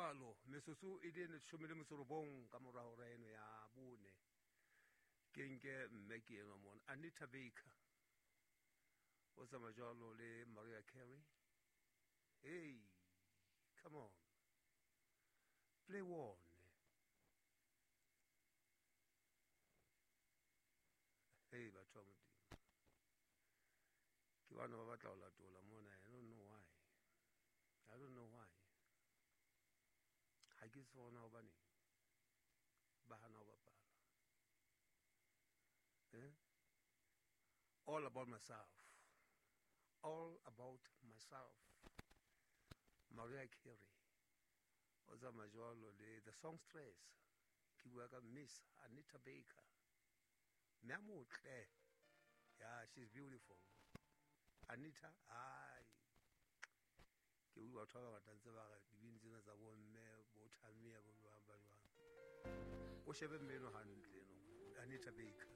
Jwalo metsotso e le 19 ka mora hora eno ya 4. Ke nke mme ke enwa mona Anita Baker o tsamaya jwalo le Mariah Carey. Hey, come on, play one. Hey, batho ba Modimo, ke bana ba batla ho latola mona. I don't know why, I don't know why. Ha ke tsona hobane ba hana ho bapala. Eh? All about myself, all about myself. Mariah Carey o tsamaya jwalo le the songstress. Ke bua ka Miss Anita Baker, mme a motle. Yeah, she's beautiful, Anita. Ai, ke utlwa batho ba bangata ntse ba re dibini tsena tsa bomme bo thamia bo jwang ba jwang. O shebe mme eno hantle eno, Anita Baker.